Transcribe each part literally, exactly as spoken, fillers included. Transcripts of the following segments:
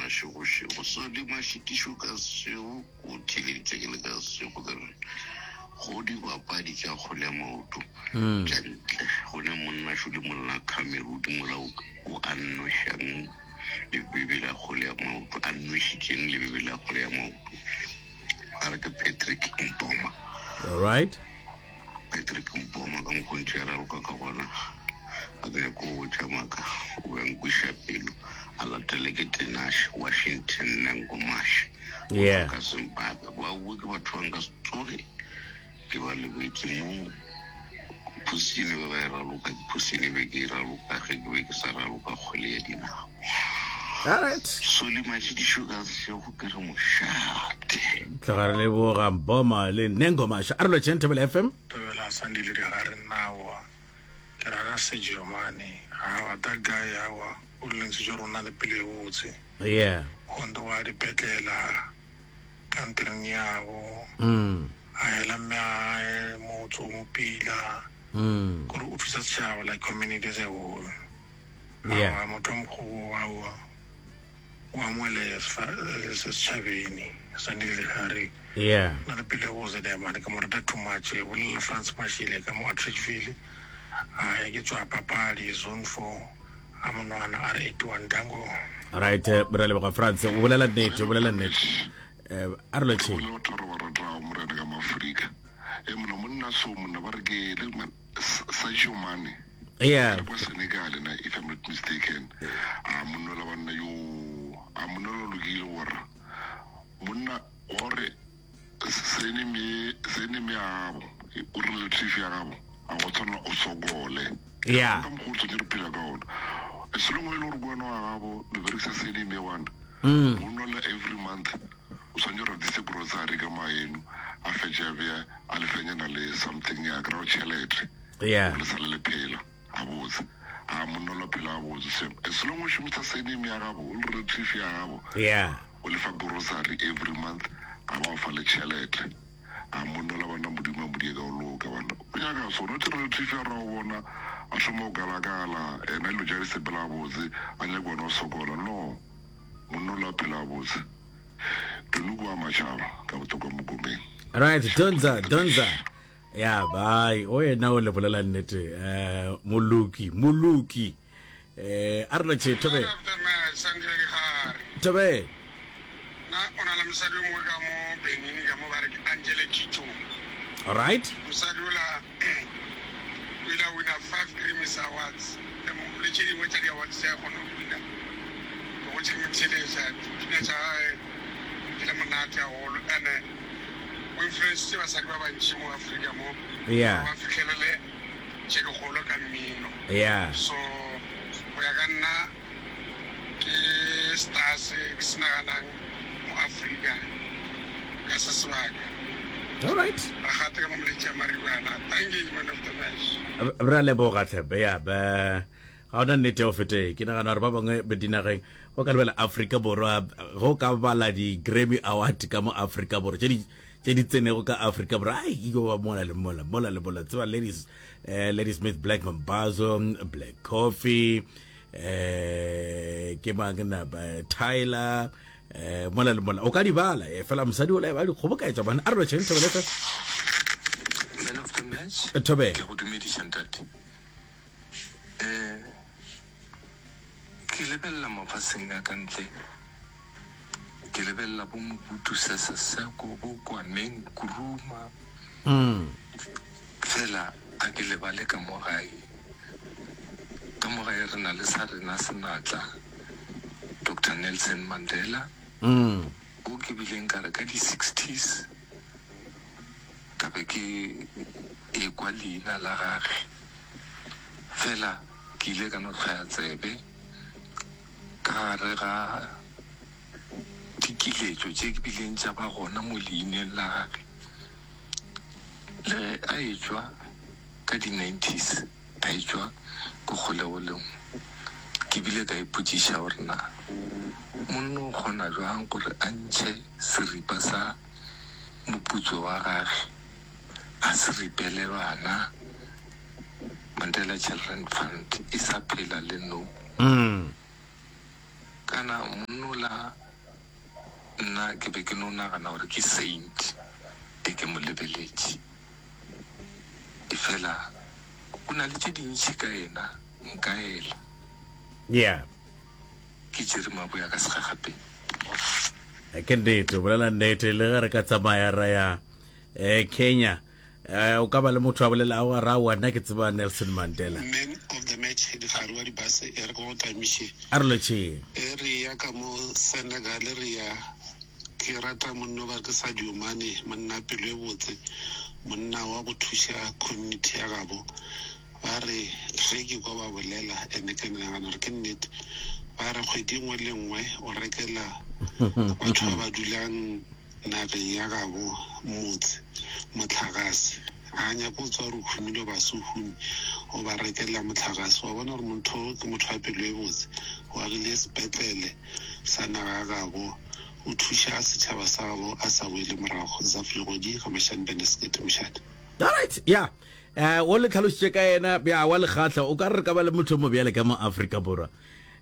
Mašegošego. Sodi Mašitišo ka sešego, o theeleditše ke le ka sešego ka re go dibapadi tša kgwele ya maoto tša ntle go ne monna šo le monna Cameroon mola o a nwešang lebebe la kgwele ya maoto, a nwešitšeng lebebe la kgwele ya maoto, a re ke Patrick Mpoma. All right. Patrick Mpoma ka mokgontšhe ya raloka ka gona, a ke nyako go botša maaka, o be a nkweša pelo, a latele ke Tenash Washington Nengomasha go tšwa Yeah. ka Zimbabwe. Bao ke batho ba nka se tsoge ke ba lebetse mo phosine be ba e raloka, ke phosine be ke e raloka ge ke be ke sa raloka kgwele ya dinao. All right. Soli Matšhidišo ka sešego ke re mošate. Tloga re leboga Mboma le Nengomasha. A re lotšheng Thobela F M. Thobela Sandile Digare nnawa ke rata Sergio Mane awa that guy awa o lentse jo rona le pele e botse. Yeah. Gondo wa dipetlela kantreng yabo. Mm. A hela mme a motse o mo pila. Mm. Gore o thusa setšhaba like community as a whole. Yeah. Awa motho wa mokgobo awa o amohele setšhabeng Sandile Digare. Yeah. Na le pele botse le mane ke mo rata too much. Bolela France Mashile ka mo Atteridgeville. A ke tswa papadi zone four a monwana R eighty-one dango. All right, eh, re leboga France. O bolela nnete, o bolela nnete. Eh, a re lotšheng. Bolela batho ba re ba ratago morena ka Mafrika. E monna monna so monna ba re ke le man Sadio Mane. Yeah. Ke kwa Senegal na if I'm not mistaken. A monna la banna yo a monna lo lokile gore monna gore sene me sene me abo o relative ya gabo a go tshwana o sokole. Yeah. Ka mokgwa o tshwanetse re phela ka ona. Selong e le gore kwena wa gabo le berekisa sene me one. Mm. O nwa every month o tshwanetse gore dise grocery ka maeno a fetše a bea a lefenyana le something ya kry-a tšhelete. Yeah. Le sale le phela a botse. A monna la phela a botse same. As long o šomisa surname ya gabo o le relative ya gabo. Yeah. O lefa grocery every month a ba o fa le tšhelete. A monna la bana modimo a modie ka o loka bana. O nyaka sona o relative ya ra o bona a thoma o kalakala ena dilo tša di sepela botse a nyaka wena o sokola. No. Monna la phela a botse. Donuku wa matšhaba ka botoka mokomeng. Right, Donza, Donza. Ya bye. O yena o le bolela nnete. Eh moloki, moloki. Eh a re lotšhe Thobe. Thobe. Na o na le mosadi o mongwe ka mo Benin ka mo ba re ke Angele Kidjo. All right. Mosadi ola o ile a wina five Grammys Awards. Le tše dingwe tša di-awards tše a kgona go wina. Ke gotše ke mo theeletša, dipina tša gagwe di le monate haholo. And o influencitše basadi ba bantši mo Afrika mo. Yeah. Gore ba fihlelele tše dikgolo ka mmino. Yeah. So go ya ka nna ke star se ke se naganang mo Afrika ka se sebaka. All right. Re gate ka mo moletši ya Maribana. Thank you, man of the match. Re a leboga tlhepe ya ba ga ona nnete ya go fete ke nagana gore ba bangwe be dinageng go ka lebela Afrika Borwa go ka bala di-Grammy Award ka mo Afrika Borwa tše di tše di tsenego ka Afrika Borwa ai ke ba mola le mola mola le mola tseba ladies eh, Lady Smith Black Mambazo Black Coffee eh ke mang na ba Tyler eh mola le mola o ka di bala eh, fela mosadi o la ba di kgoboketša bana a re lotšheng Thobela F M. Man of the match. Thobela. Ke go dumediša ntate. Eh ke lebelela mafaseng a ka ntle, ke lebelela bo Mobutu Sese Seko, bo Kwame Nkrumah. Mm. Fela a ke lebale ka mo gae. Ka mo gae re na le sa rena senatla Doctor Nelson Mandela. Mm. O ke bileng ka re ka di-sixties ka be ke ekwa leina la gage. Fela ke ile ka no hlwaya tsebe ka gare ga dikiletšo tše ke bileng tša ba gona mo leineng la gage. Le ge a etšwa ka di-nineties, a etšwa ko kgolegolong, ke bile ka ipotšiša gore na monna o kgona jwang gore a ntšhe seripa sa moputso wa gage a se ripele bana. Mandela Children Fund e sa phela le no. Mm. Kana monnola nna ke be ke no nagana gore ke saint e ke mo lebeletše. Efela go na le tše dintši ka yena nka ela. Yeah. Ke tšere maboya ka segagapeng. Ke nnete, o bolela nnete. Le ge re ka tsamaya ra ya eh, Kenya, eh, o ka ba le motho a bolelago a ra aowa nna ke tseba Nelson Mandela. Man of the match Dikgare wa dibase e re ke go tamiše. A re lotšheng. E re ya ka mo Senegal re ya ke rata monna o ba re ke Sadio Mane monna pelo e botse monna wa go thuša community ya gabo Ba re, Ge ke kwa ba bolela, and ke nagana gore ke nnete, ba re kgwedi nngwe le nngwe o rekela batho ba ba dulang nageng ya gabo motse mohlagase. Ga a nyake go tswa gore o humile goba se o hume, o ba rekela mohlagase. Wa bona gore motho o ke motho wa pelo e botse, o agile sepetlele sa naga ya gabo, o thuša setšhaba sa gabo a sa boele morago. Zaf Legodi, Ga-Mashane Beneskete, Mošate. Alright, ya. Eh, o le tlhalositše ka yena, ya wa lekgahla, o ka re re ka ba le motho mo bjale ka mo Afrika Borwa.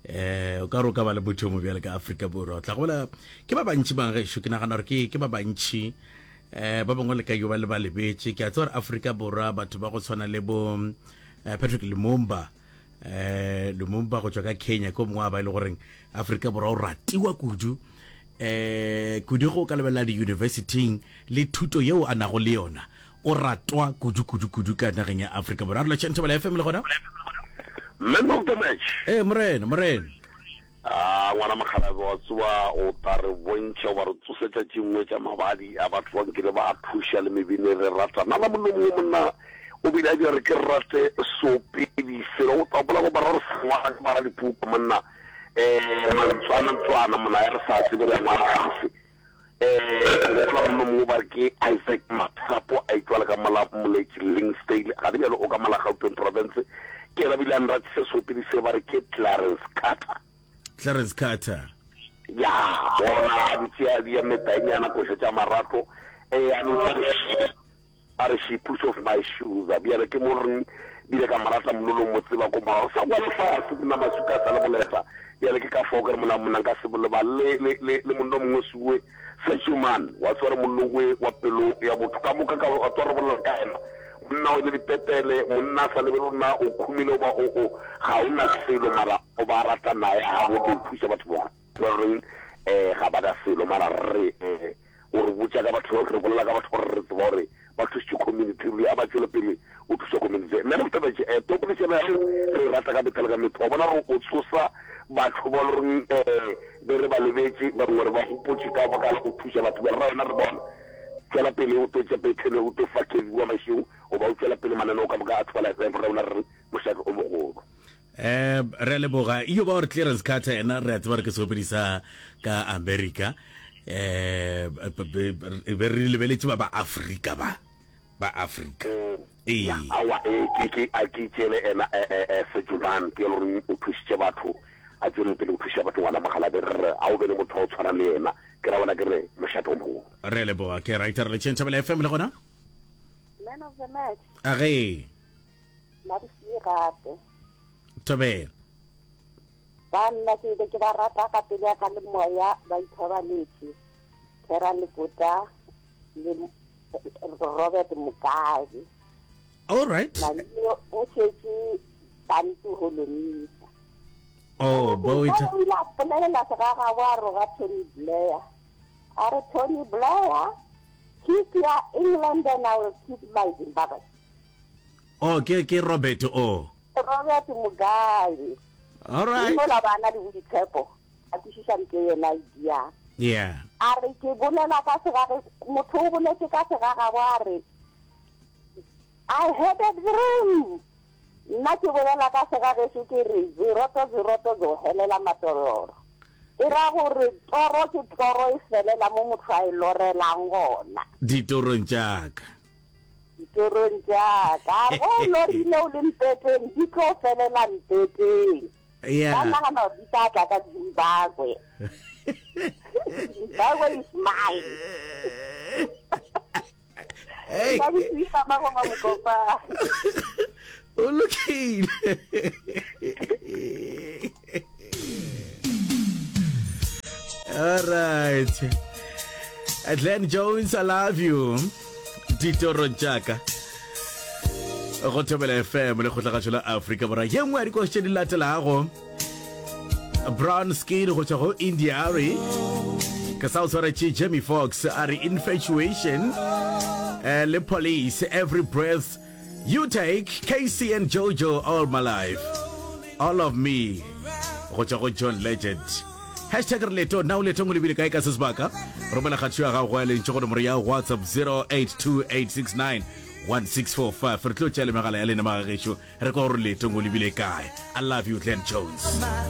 Eh, o ka re o ka ba le motho mo bjale ka Afrika Borwa. O tla gola ke ba bantši bang gešo, ke nagana gore ke ke ba bantši. Eh, ba bangwe le ka yo ba le ba lebetše. Ke a tseba gore Afrika Borwa batho ba go tshwana le bo eh, Patrick Lumumba, eh Lumumba go tšwa ka Kenya ke o mongwe wa ba e le goreng Afrika Borwa o ratiwa kudu. Eh, kudu go ka lebelela di-universityng le thuto yeo a nago le yona. O ratwa kudu kudu kudu ka nageng ya Afrika Borwa. A re lotšheng Thobela F M le gona. Man of the match. Ee, morena, morena. Ah, ngwana mokgalabje wa tseba o tla re bontšha goba re tsosetša tše nngwe tša mabadi a batho ba nkile ba a thuša le mebine re rata. Nna la mollo mongwe monna o bile a dira re ke rate seopedi selo o tla gopola go bara re sa ngwala ke bara dipuku monna eh mantswana ntswana monna ya re sa tsebe re ngwala fase. Ke gopola monna mongwe ba re ke Isaac Mathapo a itšwala ka mola Moletši Linksdale, gane bjalo o ka mola Gauteng Province. Ke yena bile a nratisa seopedi se ba re ke Clarence Carter. Clarence Carter. Ya, bona a dutše a bea metainyana koša tša marato, eh, a no tla re A re, She puts off my shoes. Bjale ke mo reng bile ka mo rata mololo mo tseba ko morago sa kwa lefase monna Masuka a sa le boleta. Bjale ke ka fao ke re monna monna nka se bolebale le le le le monna o mongwe suwe Sechuman wa tseba re mollo we wa pelo ya botho ka moka ka wa tseba re bolela ka yena monna o ile dipetele monna a sa lebele gore na o khumile goba o o ga o na selo mara o ba rata naye ga bo tlo thuša batho ba ba reng eh ga ba na selo mara re eh O re botša ka batho, re bolela ka batho gore re tseba gore ba thušitše community, ruri a ba tšwele pele go thuša community. Man of the match, eh, topolešano ya re e rata ka mehla le ka mehla. Wa bona gore o tsosa batho ba le goreng eh, be re ba lebetše, ba bangwe re ba gopotše ka baka la go thuša batho. Bjale ra yona re bona. Tšwela pele o tlo tša pethele, o tlo fa Kevin wa Mašego, goba o tšwela pele mananeo ka moka a Thobela F M, ra yona re re mošate o mogolo. Eh, re a leboga. Iyo ba gore Clarence Carter yena re a tseba re ke seopedi sa ka America. Eh, be be re lebeletše ba ba Afrika ba. Ba Afrika. Ee. Ya, aowa, ee, ke, ke, a ke itšeele ena, eh, eh, eh, Sejuman, ke e le goreng o thušitše batho, a tšwele pele go thuša batho, ngwana Mogalabe, re re, a o be le motho wa go tshwana le yena, ke ra bona ke re, mošate o mogolo. Re a leboga. Ke right, re letšeng Thobela F M le gona. Man of the match. A ge. Madisie gape. Thobela. Ba nna ke be ke ba rata ka pelo ya ka le moya ba ithobaletše Terra Lekota le Robert Mugabe. All right. Malio o šetše Bantu Holomisa. Oh, bo o ile a polelela segagabo a roga Tony Blair. A re Tony Blair, keep your England and I will keep my Zimbabwe. Oh, ke ke Robert o. Robert Mugabe. All right. Mola ba na le boitshepo, a kwešiša nto yena e diang. Yeah. A re ke bolela ka segage, motho o boletše ka segagabo a re I had a dream. Nna ke bolela ka segagešo ke re zeroto zeroto zo helela matororo. E ra gore toro ke toro e felela mo motho a e lorelang gona. Ditorong tša ka. Ditorong tša ka. Ge o lorile o le mpeteng, di tlo felela mpeteng. Yeah. Ba nagana gore di tla tla ka Zimbabwe. Zimbabwe is mine. Hey. Nna ke thuša Magoma Mokopane. O lokile. All right. Glenn Jones, I love you. Ditorong tša ka. Go Thobela F M le kgotlagašo la Afrika Borwa. Ye nngwe ya dikoši tše di latelago. Brown Skin go tšwa go India.Arie. Ke sa o tshwaretše Jamie Foxx a re Infatuation. Eh, le Police, Every Breath You Take, K C and Jojo, All My Life. All of Me go tšwa go John Legend. Hashtag re leto na o leetong o lebile kae ka se sebaka? Romela kgatšo ya gago ya lentšu go nomoro ya WhatsApp zero eight two eight six nine one six four five. Re tlo tšea le megala ya lena magagešo re kwa gore leetong o lebile kae. I love you, Glenn Jones.